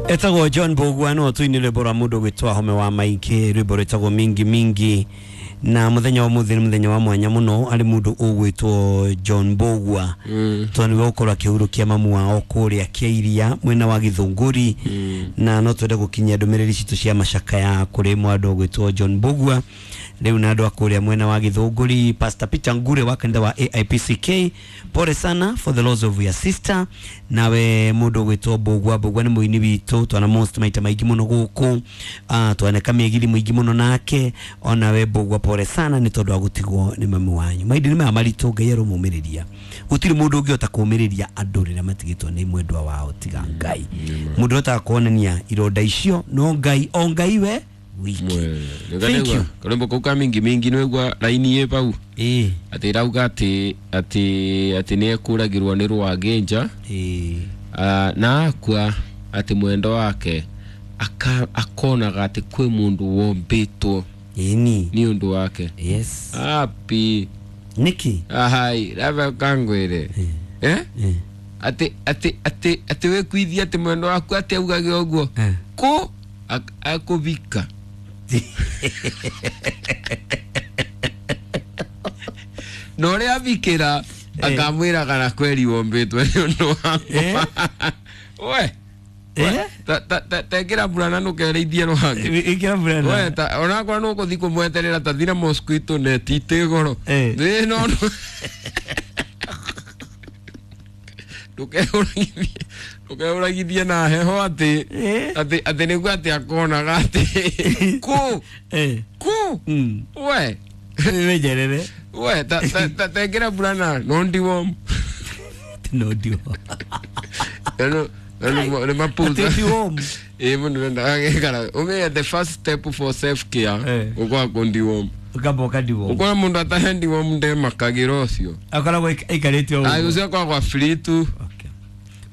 Etagwo John Mbugua no tuini rwimbo rwa mundu gwitwa Home wa Maingĩ, rwimbo rwitagwo Mingi Mingi. Na muthenya wa muthi ni muthenya wa mwanya muno ari mundu ugwitwo John Mbugua, tondu niwe ukorwo akihurukia mamu wao kuria Kiairia mwena wa Githunguri. Na no twende gukinyia ndumiriri citu cia macakaya kuri mwandu ugwitwo John Mbugua riu na andu a kuria mwena wa Githunguri. Pastor Peter Ngure wa kanitha wa AIPCK, pole sana for the loss of your sister. Nawe mundu ugwitwo Mbugua, Mbugua ni muini witu twana most maita maingi muno guku, twaneka mĩgithi mũingĩ mũno nake. Onawe Mbugua pole sana ni tondu wa gutigwo ni mamu wanyu. Maindi ni maya maritũ, Ngai aromũmĩrĩria. Gũtirĩ mũndũ ũngĩhota kũũmĩrĩria andũ rĩrĩa matigĩtwo nĩ mwendwa wao tiga Ngai. Mũndũ ũhotaga kuonania ironda icio no Ngai, o Ngai we wiki. Thank you. Karwimbo kau ka Mingi Mingi nĩwaigua raini ĩ pau? Ĩĩ. Atĩ ĩrauga atĩ atĩ atĩ nĩ ekũragĩrwo nĩ rwagĩnja. Ĩĩ. Na akua atĩ mwendo wake akonaga atĩ kwĩ mũndũ wombĩtwo Ĩni. nĩ ũndũ wake. Yes. Api. Nĩkĩ? Ahai, labda kangwĩre. Eh? Atĩ atĩ atĩ atĩ wĩkuithia atĩ mwendo waku atĩ augage ũguo. Kũ akũvika. Na ũrĩa avikĩra akamwĩra kana kweri wombĩtwo nĩ ũndũ wakwa. We. Tekĩra burana nũkereithie rwangĩ. Ĩkĩra burana. We ta onakorwo nũkũthi kũmweterera ta thira mosquito net itĩ goro. Ĩ no ndũkeũragithie na heho atĩ atĩ atĩ nĩguo atĩ akonaga atĩ kũ kũ we Wĩnjerere. We ta tekĩra burana no ndiwom. No ndiwom. Nĩ mapuza. Atĩ ndiwom. Ĩ mũndũ endaga gĩkara ũmenye the first step for self care ũkwa kũndiwom. Ũkamba ũkandiwom. Ũkora mũndũ atahe ndiwom ndemakagĩra ũcio. Akoragwo aikarĩte o Ai ũguo. ũcio akoragwo free tu.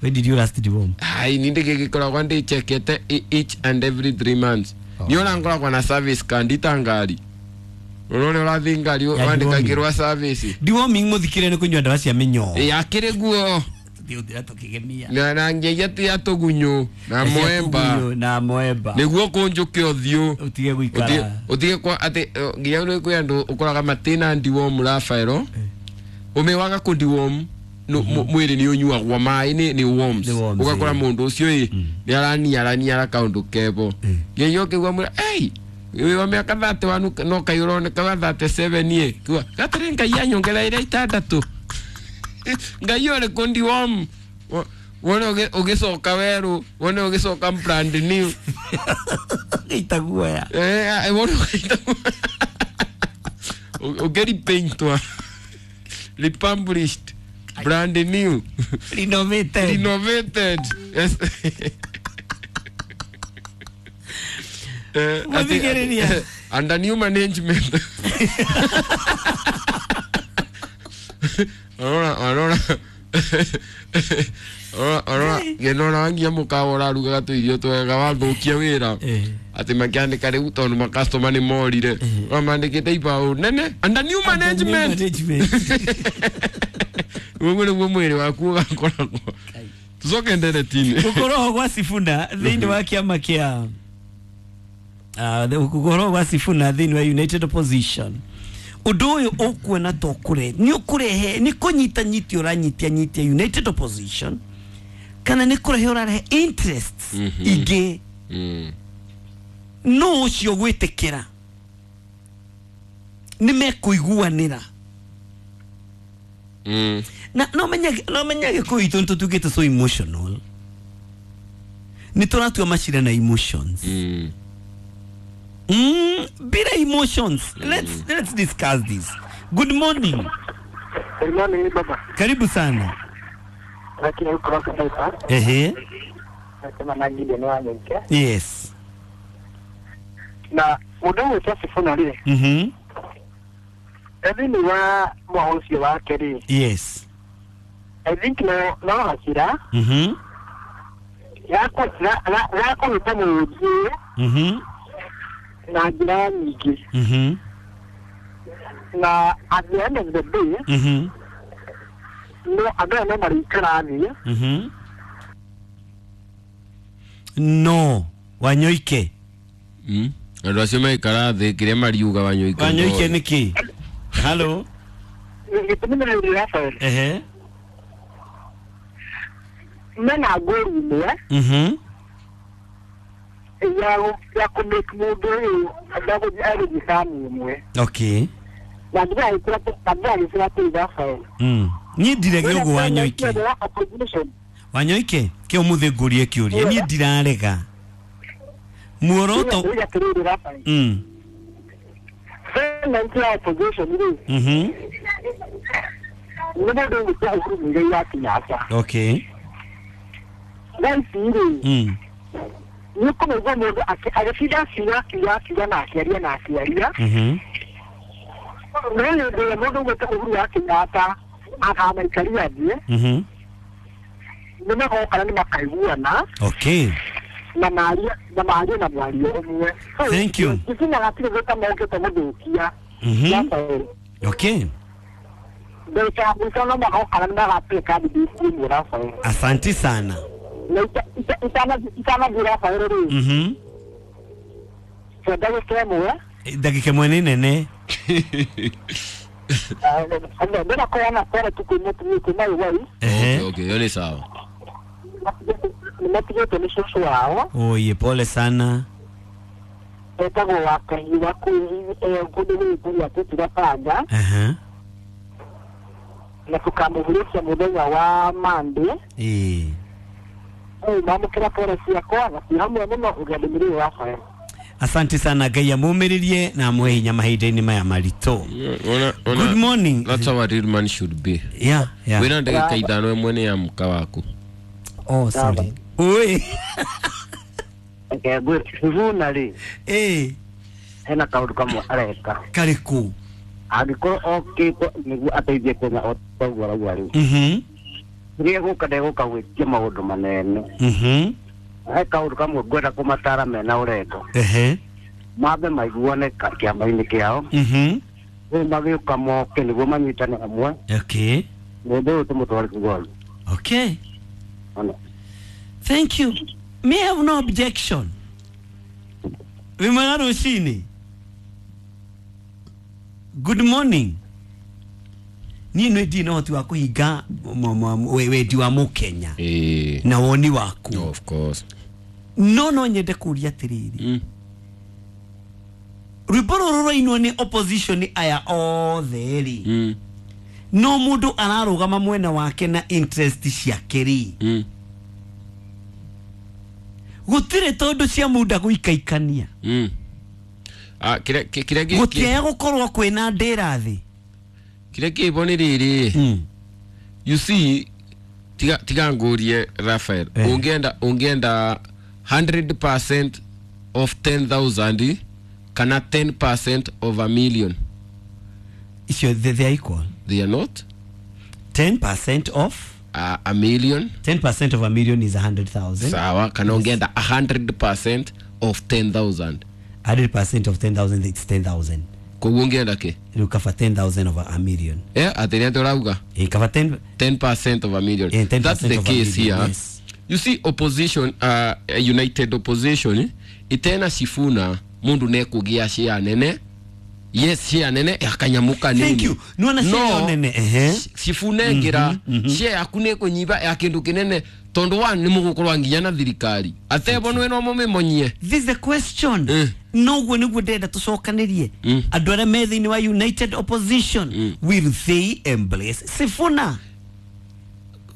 When did you last deworm? Ai ni ndĩgĩkoragwo ndĩchekete each and every 3 months. Nĩ ona ngoragwo na service kandi ta ngari. Ũrona ũrathiĩ ngari wandĩkagĩrwa service. Deworming mũthikĩre nĩ kũnyua ndawa cia mĩnyoo. Ĩ akĩrĩ guo. Tũthiũthĩra tũkĩgemia. Na ngeia ti ya tũgunyũ na mwemba. Na mwemba. Nĩguo kũnjũke ũthiũ. Ũtige gũikara. Ũtige kwa atĩ nginya rĩu kwĩ andũ ũkoraga matĩna deworm Rafaelo. Ũmĩwaga kũ deworm mwĩrĩ nĩ ũnyuagwo maĩ nĩ worms. Ũgakora mũndũ ũcio ĩ nĩ araniaraniara kaũndũ kebo. Nginya ũkĩigua mwĩra ei wĩ wa mĩaka 31 no kaĩ ũroneka wa 37 ĩ. Kiuga gatarĩ Ngai anyongereire 6. Ngai ũrĩkũ deworm. Wone ũgĩcoka werũ, wone ũgĩcoka brand new. Gĩita guoya. Wone ũgĩita guoya. Ũkĩripaintwa. Republished. Brand new. Renovated. Renovated. Yes. Mũthikĩrĩria. Under new management. Arora arora. Arora ngĩnora nginya mũkawa ũrarugaga tũirio twega wathũkia wĩra. Atĩ makĩandĩka rĩu tondũ makastoma nĩ morire. Mandĩkĩte ibaũ nene under new management. Ũguo nĩguo mwĩrĩ waku ũgakoragwo. Tucoke nderetinĩ. Gũkorwo gwa Sifuna thĩinĩ wa kĩama kĩa gũkorwo gwa Sifuna thĩinĩ wa United Opposition. Ũndũ ũyũ ũkuona to kũre nĩ ũkũrehe nĩ kũnyita nyitia ũranyitia nyitia United Opposition kana nĩ kũrehe ũrarehe interests ingĩ. No ũcio gwĩtĩkĩra nĩ mekũiguanĩra. Na no menya Gĩkũyũ itũ nĩ tũtuĩkĩte so emotional. Nĩ tũratua macira na emotions. Bila emotions. Let's discuss this. Good morning. Good morning baba. Karibu sana. Lakini uko wapi? Ehe. Nasema na Gideon Wanyonke. Yes. Na mũndũ ũyũ Sifuna rĩ. Ethini wa mwahocio wake rĩ. Yes. I think no hasira. Yako yako mũndũ. Na njĩra nyingĩ. Na at the end of the day, no andũ aya no marĩikara thĩ. No Wanyoike. Andũ acio maikara thĩ kĩrĩa mariuga Wanyoike. Wanyoike nĩkĩ? Hello. Gĩtũmi nĩ rĩrĩ Raphael. Ehe. Mena ngũri ĩmwe. Ya kũmake mũndũ ũyũ agũthiĩ thani ĩmwe. Okay. Na ndiragĩkĩra kũu Raphael. Niĩ ndirege ũguo Wanyoike. Wanyoike kĩ ũmũthĩ ngũrie kĩũria niĩ ndirarega muoroto. Okay. Okay. Thank you. Okay. Asante sana. Dakika mwe nene. Okay, yoni sawa. Oye, pole sana. Na tukamũhurũkia mũthenya wa Monday. Asante sana Ngai amumĩrĩrie na amũhe hinya mahinda-inĩ maya maritũ. Good morning. That's how a real man should be. Yeah, yeah. Wĩna ndagĩka 5 ĩmwe ya mũka waku. Oh, sorry. Oi. Ngwĩra rĩ. Hena kaũndũ kamwe areka. Karĩkũ? Angĩkorwo okĩte nĩguo ateithie Kenya o ta ũguo arauga rĩ. Rĩrĩa gũka ndegũka gwĩtia maũndũ manene. He kaũndũ kamwe ngwenda kũmatara mena ũrendo. Mambe maiguane kĩama-inĩ kĩao. Rĩu magĩũka moke nĩguo manyitane hamwe. Okay. Mũndũ ũyũ tũmũtware Kigoli. Okay. Thank you. Me have no objection. Wimara rũcinĩ. Good morning. Niĩ nĩ ndirĩ na ũhoti wa kũhinga wendi wa Mũkenya na woni waku. Of course. No nyende kũria atĩrĩrĩ. Rwĩmbo rũrũ rũrainwo nĩ opposition aya othe rĩ. No mũndũ ararũgama mwena wake na interest ciake rĩ. Gũtirĩ tondũ cia munda gũikaikania. Gũtiaya gũkorwo kwĩna ndĩra thĩ. Kĩrĩa kĩbo nĩ rĩrĩ. You see, tiga ngũrie Raphael, ũngĩenda 100% of 10,000 kana 10% of a million. Icio they are equal. They are not. 10% of a million. 10% of a million is 100,000. Sawa, kana ũngĩenda 100% of 10,000. 100% of 10,000 it's 10,000. Koguo ũngĩenda kĩ? Rĩu kaba 10,000 of a million. Atĩrĩ atĩ ũrauga? Kaba 10% of a million. 10% That's the of case a million, here. Yes. You see opposition, united opposition, itena Sifuna mundu nekugia share nene. Yes, share nene akanyamuka nini. Thank you. Nwana share nene. Sifuna ngira share yaku nekunyiba ya kindu kinene tondu wa ni mugukorwa nginya na thirikari. Atebo nwe no mumimonyie. This is the question. Noguo niguo ndenda tucokanirie. Andu aria me thiini wa united opposition, will they embrace Sifuna?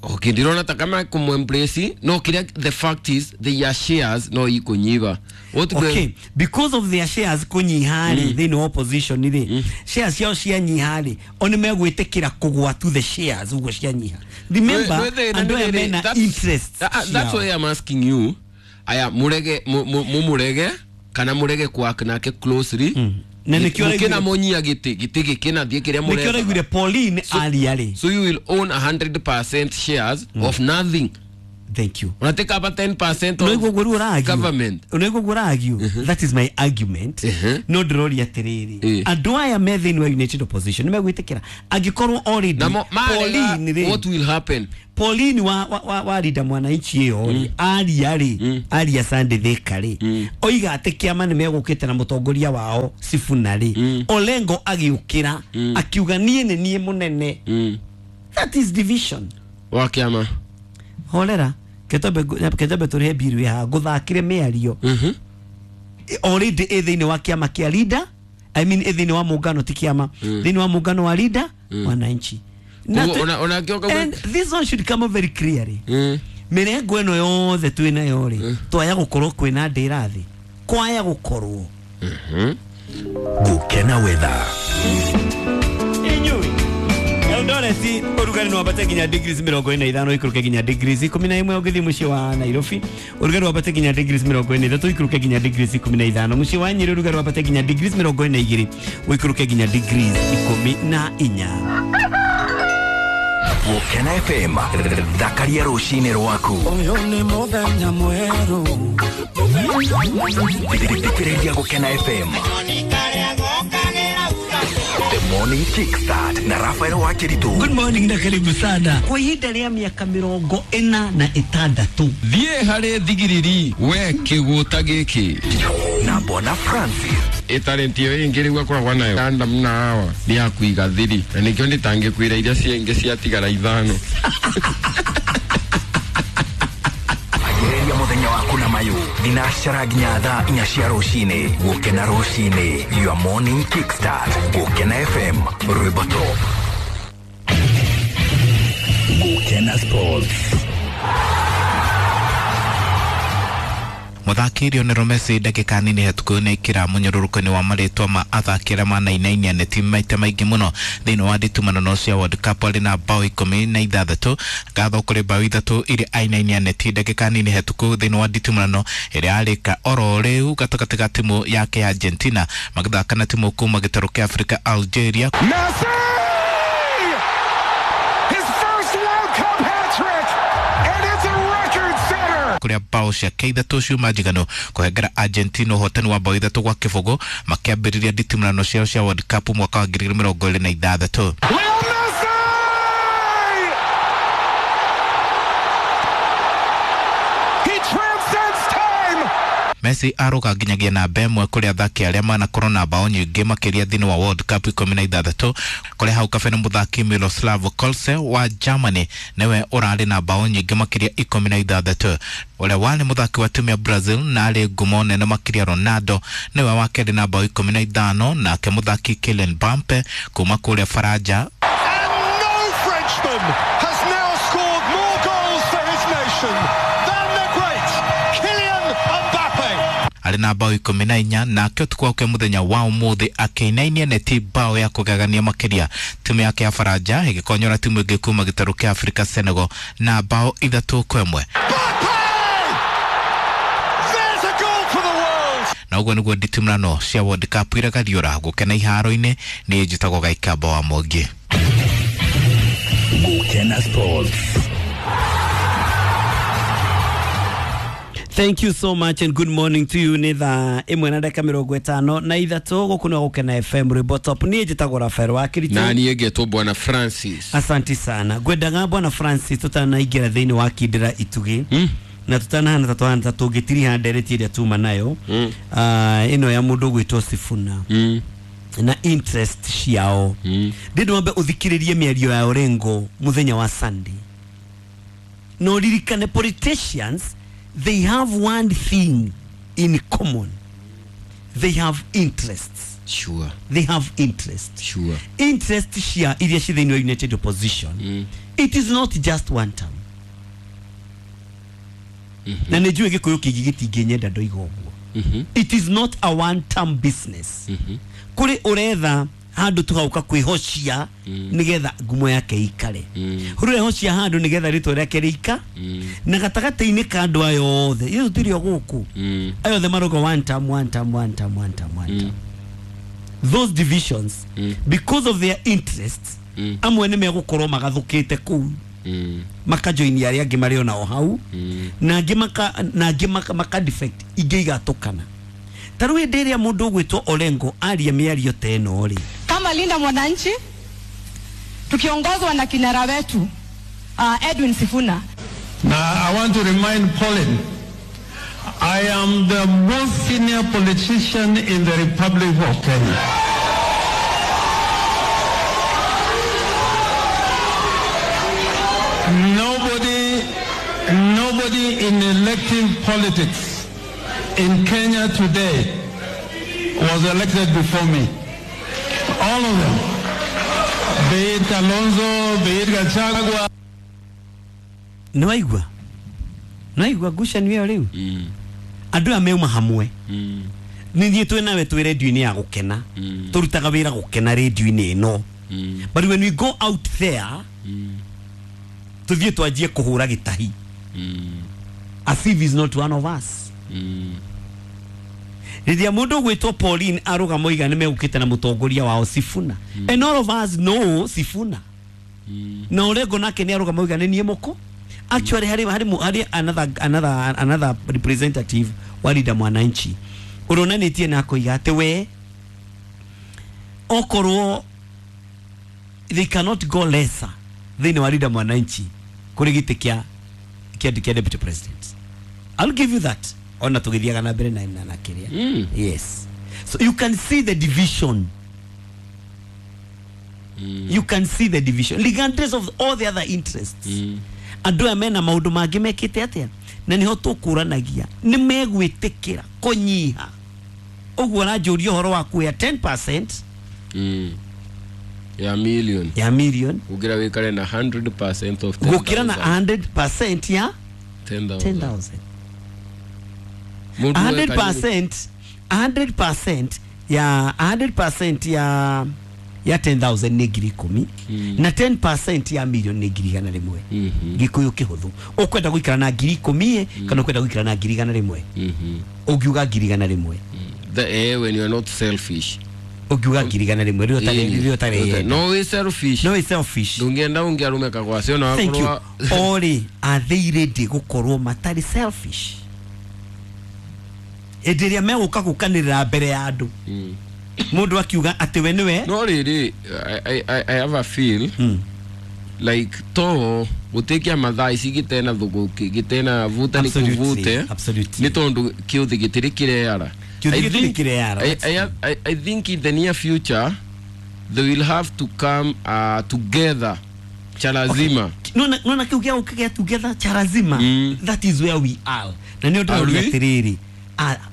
Okay, ndirona ta kama kumwembrace no kiria the fact is their shares no ikunyiba. Okay, because of their shares kunyihari thiini wa opposition ri shares ciao cianyihari oni megwitikira kugwa to the shares uguo cianyiha. Remember andu aya mena interests. That's why I'm asking you. Aya murege mumurege kana murege kwa nake closely. Na nikio kina monyia giti gikina thie kiria murege. Nikio raiguire Pauline aria ri. So you will own 100% shares of nothing. Thank you. Unatake up 10% no iguo guo ũragio government. No iguo guo ũragio. That is my argument. No ndĩroria atĩrĩrĩ, andũ aya me thĩinĩ wa united opposition nĩmegwĩtĩkĩra angĩkorwo already Pauline rĩ, what will happen? Pauline wa Linda Mwananchi ĩyo rĩ, aria rĩ, aria Sunday Thika rĩ, oiga atĩ kĩama nĩmegũkĩte na mũtongoria wao Sifuna rĩ, Olengo agĩũkĩra akiuga niĩ nĩ niĩ mũnene. That is division wa kĩama. Horera ketombe tũrĩhe mbiru ya ngũthakire mĩario already ĩ thĩinĩ wa kĩama kĩa Linda, I mean ĩ thĩinĩ wa mũngano, ti kĩama, thĩinĩ wa mũngano wa Linda Mwananchi. And this one should come very clearly. Mĩrengo ĩno yothe twĩ nayo rĩ, twaya gũkorwo kwĩna ndĩra thĩ, kwaya gũkorwo Gũkena weather. Inyuĩ Eldoret ũrugarĩ nĩ wambate nginya degrees 45 ikũrũke nginya degrees 11 ũgĩthiĩ mũciĩ wa Nairobi ũrugarĩ wambate nginya degrees 43 ikũrũke nginya degrees 15 mũciĩ wa Nyeri ũrugarĩ wambate nginya degrees 42 ũikũrũke nginya degrees 14. Gũkena FM, thakaria rũcinĩ rwaku. Ũyũ nĩ mũthenya mwerũ. Thikĩrĩria Gũkena FM. The Morning Kickstart na Rafael Wakiritu. Good morning na karibu sana. Kwa ihinda rĩa mĩaka 46 thiĩ harĩ thigiriri we kĩgũta gĩkĩ na Bwana Francis. Italenti ĩyo ĩngĩ rĩu akoragwo nayo kanda mna hawa nĩ ya kũiga thiri na nĩkĩo ndĩtangĩkwĩra iria ciengĩ ciatigara 5. Agĩrĩria mũthenya waku na mayu thinacara nginya thaa 4 cia rũcinĩ. Gũkena rũcinĩ, your morning kickstart. Gũkena FM, rwĩmbo top. Gũkena Sports. Mũthaki Lionel Messi ndagĩka nini hetũku nĩaikĩra mũnyũrũrũko-inĩ wa marĩtwa ma athaki arĩa manainainia neti maita maingĩ mũno thĩinĩ wa nditimũrano cia World Cup arĩ na bao 16. Ngatho kũrĩ bao 3 iria ainainia neti ndagĩka nini hetũku thĩinĩ wa nditimũrano ĩrĩa yarĩka oro rĩu gatagatĩ ga timu yake ya Argentina magĩthaka na timu kuma gĩtarũ kĩa Afrika Algeria. Messi! His first World Cup hat-trick, and it's a record setter! Kuria bao ciake 3 ciuma njiganu kũhengera Argentina ũhotani wa bao 3-0 makĩambĩrĩria nditimũrano ciao cia World Cup mwaka wa 2026. Leo Messi! He transcends time! Messi arũga nginyagia namba 1 kũrĩ athaki arĩa manakorwo na bao nyingĩ makĩria thĩinĩ wa World Cup 16 kũrĩa hau kabere mũthaki Miroslav Klose wa Germany nĩwe ũrarĩ na bao nyingĩ makĩria 16. Ũrĩa warĩ mũthaki wa timu ya Brazil na arĩ ngumo nene makĩria Ronaldo nĩwe wa kerĩ na bao 15, nake mũthaki Kylian Mbappe kuma kũrĩa Faranja. And no Frenchman has now scored more goals for his nation than the great Kylian Mbappe. Arĩ na bao 14, nake ũtukũ wake mũthenya wa ũmũthĩ akĩinainia neti bao ya kũgegania makĩria timu yake ya Faranja ĩgĩkonyora timu ĩngĩ kuma gĩtarũ kĩa Afrika Senegal na bao 3-1. Na ũguo nĩguo nditimũrano cia World Cup iragariũra. Gũkena iharo-inĩ nĩ njĩtagwo Gaikamba wa Mwangi. Gũkena Sports. Thank you so much and good morning to you. Nĩ thaa 1:53 gũkũ nĩ Gũkena FM rwĩmbo top. Niĩ njĩtagwo Rafael Wakiritu na niĩ ngetwo Bwana Francis. Asante sana. Ngwendaga Bwana Francis tũtanaingĩra thĩinĩ wa Kindĩra Itugĩ na tutanahana tatwana tũngĩtiriha ndereti ĩrĩa tuma nayo ĩno ya mũndũ ũgwĩtwo Sifuna na interest ciao. Ndĩndĩ wambe ũthikĩrĩrie mĩario ya Orengo mũthenya wa Sunday. No ririkane politicians, they have one thing in common. They have interests. Sure. They have interests. Sure. Interest cia iria ci thĩinĩ wa united opposition. It is not just one term. Na nĩ njũĩ gĩkũyũ kĩngĩ gĩtingĩnyenda ndoiga ũguo. It is not a one term business. Kũrĩ ũretha handũ tu hauka kwĩhocia nĩgetha ngumo yake ikare. Kũrĩ ũrehocia handũ nĩgetha rĩtwa rĩake rĩika na gatagatĩ-inĩ ka andũ aya othe ithuĩ tũtirĩ o gũkũ aya othe marauga one term, one term, one term, one term, one term. Those divisions because of their interests amwe nĩ megũkorwo magathũkĩte kũu Makajoini arĩa angĩ marĩ onao hau, na angĩ maka na angĩ maka defect, ingĩ igatũkana. Ta rĩu hĩndĩ ĩrĩa mũndũ ũgwĩtwo Orengo aria mĩario ta ĩno rĩ, kama Linda Mwananchi tukiongozwa na kinara wetu Edwin Sifuna. Now, I want to remind Pauline, I am the most senior politician in the Republic of Kenya. Nobody in elective politics in Kenya today was elected before me. All of them. Be it Kalonzo, be it Gachagua. Nĩwaigua ngucanio ĩyo rĩu? Andũ aya meuma hamwe, nĩ niĩ twĩ nawe twĩ redio-inĩ ya gũkena, tũrutaga wĩra gũkena redio-inĩ ĩno, but when we go out there, tũthiĩ twanjie kũhũra gĩtahi as if he's not one of us. Rĩrĩa mũndũ ũgwĩtwo Pauline arũgama oiga nĩ megũkĩte na mũtongoria wao Sifuna, and all of us know Sifuna, na Orengo nake nĩ arũgama oiga nĩ niĩ mũkũ. Actually, harĩ another representative wa Linda Mwananchi ũronanĩtie na akoiga atĩ we okorwo they cannot go lesser thĩinĩ wa Linda Mwananchi kũrĩ gĩtĩ kĩa deputy president. I'll give you that ona tũgĩthiaga na mbere na kĩrĩa. Yes, so you can see the division. You can see the division regardless of all the other interests. Andũ aya mena maũndũ mangĩ mekĩte atĩa, na nĩho tũkũranagia nĩ megwĩtĩkĩra kũnyiha ũguo aranjũria ũhoro wa kuoya 10% ya million, ya million gũkĩra wĩkare na 100% of 10,000. Gũkĩra na 100% ya 10,000. 10,000. 100% ya 100% ya 10,000 nĩ 10,000, na 10% ya million nĩ 100,000. Gĩkũyũ kĩhũthũ, ũkwenda gũikara na 10,000 kana ũkwenda gũikara na 100,000? Ũngiuga 100,000. When you are not selfish. Ũngiuga 100,000 rĩrĩa ũtarĩ. No we selfish. No we selfish. Ndũngĩenda ũngĩarũme kagwacio na Thank you. wakorwo. Ori, are they ready gũkorwo matarĩ selfish? Hĩndĩ ĩrĩa megũka gũkanĩrĩra mbere ya andũ, mũndũ akiuga atĩ we nĩwe. No rĩrĩ, I have a feel like to gũtikia mathaa ici gĩtena thũgũkĩ gĩtena vuta nĩ kũvute nĩ tondũ kĩũthĩ gĩtirĩ kĩreara. I think in the near future they will have to come together cha lazima. No na kĩu gĩa gũka together cha lazima. That is where we are. Na nĩ ũndũ ũrĩa atĩrĩrĩ,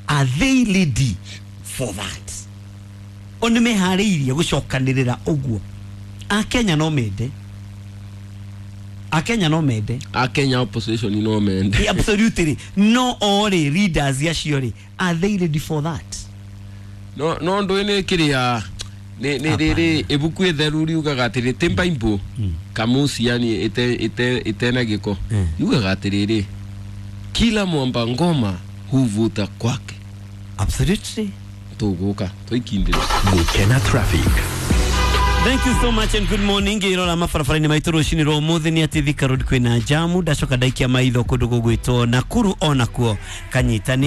are they ready for that? O nĩ meharĩirie gũcokanĩrĩra ũguo? Akenya no mende. Akenya no mende. Akenya opposition no mende. Absolutely. No all leaders acio rĩ, are they ready for that? No ndũ nĩ kĩrĩa nĩ rĩrĩ ibuku itheru riugaga atĩrĩ ti Bible kamusi yani itena gĩko yugaga atĩrĩrĩ kila mwamba ngoma huvuta kwake. Absolutely. Tuguka tuikindire. Gukena traffic. Thank you so much and good morning. Ngirora mabarabara-inĩ maitũ rũcinĩ rwa ũmũthĩ nĩ atĩ Thika Road kwĩna jamu, ndacoka ndaikia maitho kũndũ gũgwĩtwo Nakuru onakuo kanyitani.